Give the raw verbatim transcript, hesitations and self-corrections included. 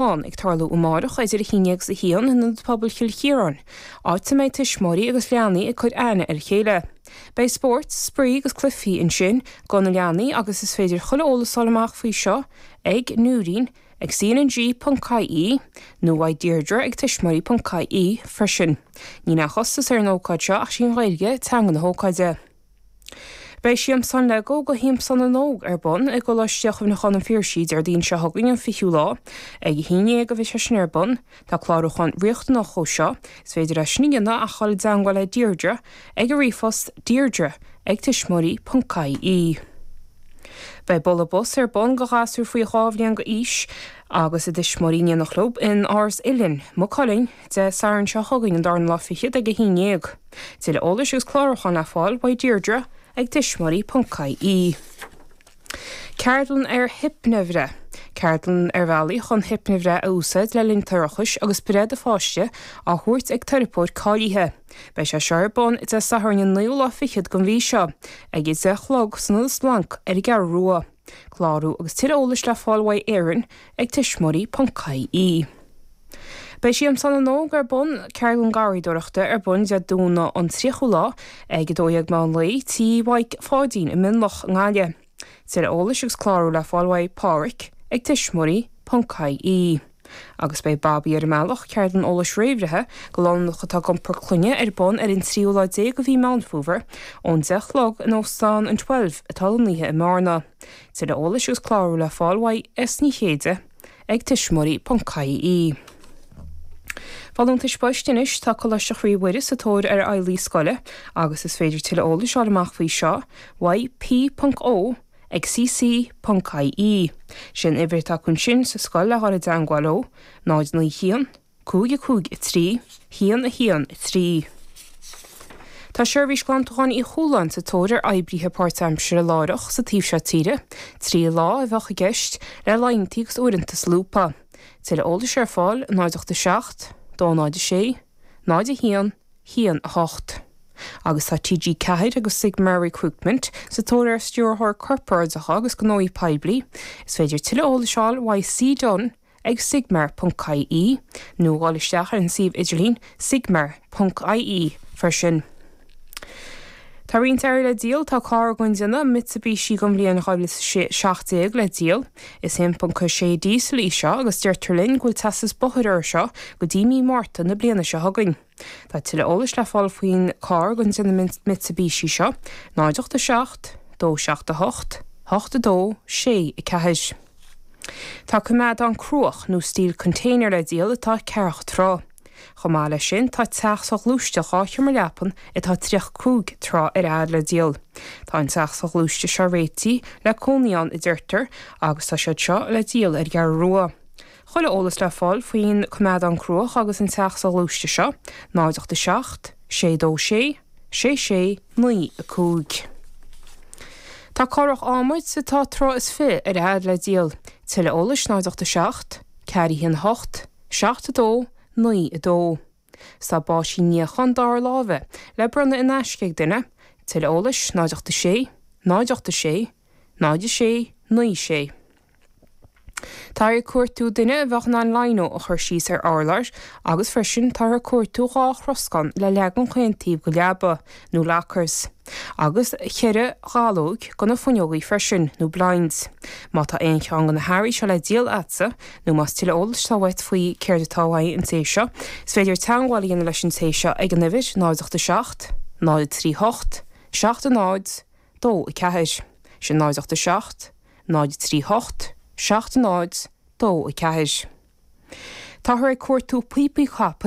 ag tarlú amárach idir a haon déag agus a haon in Ionad Pobail Chill Chiaráin, áit a mbeidh tuismitheoirí agus leanaí ag cur aithne ar a chéile. Beidh spórt, spraoi agus cluichí ansin do na leanaí agus is féidir chuile eolas a fháil amach faoi seo ag Nóirín ag cng.ie nó uaidh Deirdre ag tuismitheoirí.ie freisin. Níl aon chostas ar an ócáid seo ach sí an Ghaeilge teanga na hócáide. Beidh Siamsán Lego go Shiamsán na nÓg ar bun i gColáiste Chuimhneacháin an Phiarsaigh Déardaoin seo chugainn an fichiú lá, ag a haon déag a bheidh sé sin ar bun, tá clárúchán riachtanach dó seo, is féidir é sin a dhéanamh ach dul i dteagmháil le Deirdre ag a ríomhphost deirdre ag tuismitheoirí.ie. Beidh boladh bos ar bun do ghasúir faoi dhá bhliain d'aois agus a dtuismitheoirí in éineacht leo in Áras Uilinn, Maigh Cuilinn, Dé Sathairn seo chugainn an darna lá fichead ag a haon déag. Tuilleadh eolais agus clárúchán le fáil uaidh Deirdre ag tuismitheoirí.ie. Ceardlann ar hipnibhreith. Ceardlann ar bhealaí chun hipnibhreith a úsáid le linn toirchis agus breith do pháiste á thabhairt ag teiripeoir cáilithe. Beidh sé seo ar bun Dé Sathairn an naoú lá fichead den mhí seo, ag a deich a chlog san Ionad Splanc ar an gCeathrú Rua. Clárú agus tuilleadh eolais le fáil uaidh Éirinn ag tuismitheoirí.ie. Beidh Siamsán na nÓg ar bun ceardlann garraíodóireachta ar bun Dé Domhnaigh an tríochú lá ag a dó dhéag meán lae Tí Mhaidhc Pháidín i Mionlach i nGaillimh. Tuilleadh eolais agus clárú le fáil uaidh Pádraic ag tuismitheoirí.ie. Agus beidh Babaí ar an mbealach ceardlann eolais réamhbhreithe do lánúineacha atá ag iompar clainne ar bun ar an tríú lá déag de mhí Meán Fómhair ón deich a chlog in Óstán an Twelve atá lonnaithe i mBearna. Tuilleadh eolais agus clárú le fáil uaidh S Ní Chéide ag tuismitheoirí.ie. Folúntais poist anois tá Coláiste Chroí Mhuire sa tóir ar fheighlí scoile agus is féidir tuilleadh eolais a fháil amach faoi seo uaidh P.O ag cc.ie. Sin uimhir atá acu sin sa scoil le dhul i dteagmháil leo, náid naoi haon, cúig a cúig a trí, haon a haon a trí. Tá seirbhís glantacháin Uí Chualáin sa tóir ar oibrithe páirtaimseartha láithreach sa taobh seo tíre, trí lá a bheadh i gceist le laethanta agus uaireanta solúbtha. Tuilleadh eolais ar fáil náid ocht a seacht, dó náid a sé, náid a haon, haon a hocht. Agus tá TG Ceathair agus Sigmar Recruitment sa tóir ar stiúrthóir corparáideach agus gnóthaí poiblí, is féidir tuilleadh eolais a fháil uaidh C Dunn ag sigmar.ie nó dul isteach ar an suíomh idirlín sigmar.ie freisin. Tá roinnt earraí le díol tá carr den déanamh Mitsubishi den bhliain dhá mhíle seacht déag le díol. Is aon ponc sé díosal í seo agus deirtear linn go bhfuil teastas bóthair air seo go dtí mí Márta na bliana seo chugainn. Tá tuilleadh eolais le fáil faoin carr den déanamh Mitsubishi seo, náid ocht a seacht, dó seacht a hocht, hocht a dó, sé a ceathair. Tá coimeádán cruach nó steel container le díol atá ceathracha troigh. Chomh maith leis sin tá teach soghluaiste dhá sheomra leapan atá tríocha cúig troigh ar fhad le díol. Tá an teach soghluaiste seo réitithe le cónaí ann a deirtear agus tá siad seo le díol ar an gCeathrú Rua. Chuile eolas le fáil faoin coimeádán cruach agus an teach soghluaiste seo, náid ocht a seacht, sé dó sé, sé sé naoi a cúig. Tá cárthach adhmaid atá troigh is fiche ar fhad le díol. Tuilleadh eolais náid ocht a seacht, ceathair a haon a hocht, seacht a dó, naoi a dó. Tá báisín níocháin dara láimhe le bronnadh in aisce ag duine, tuilleadh eolais náid ocht a sé, náid ocht a sé, náid a sé, naoi sé. Tá ag cuartú duine a bheadh in ann lino a chur síos ar urlár agus freisin tá ag cuartú dhá throscán le leagan chaon taobh den leaba nó lockers. Agus ceithre ghalóg do na fuinneogaí freisin nó blinds. Má tá aon cheann de na hearraí seo le díol agatsa nó más tuilleadh eolais atá uait faoi céard atá uaidh an té seo, is féidir teagmháil a dhéanamh leis an té seo ag an uimhir náid ocht a seacht, náid trí hocht, seacht a náid, dó a ceathair. Sin náid ocht a seacht, náid trí hocht, seacht a náid, dó a ceathair. Táthar ag cuartú píopaí capaill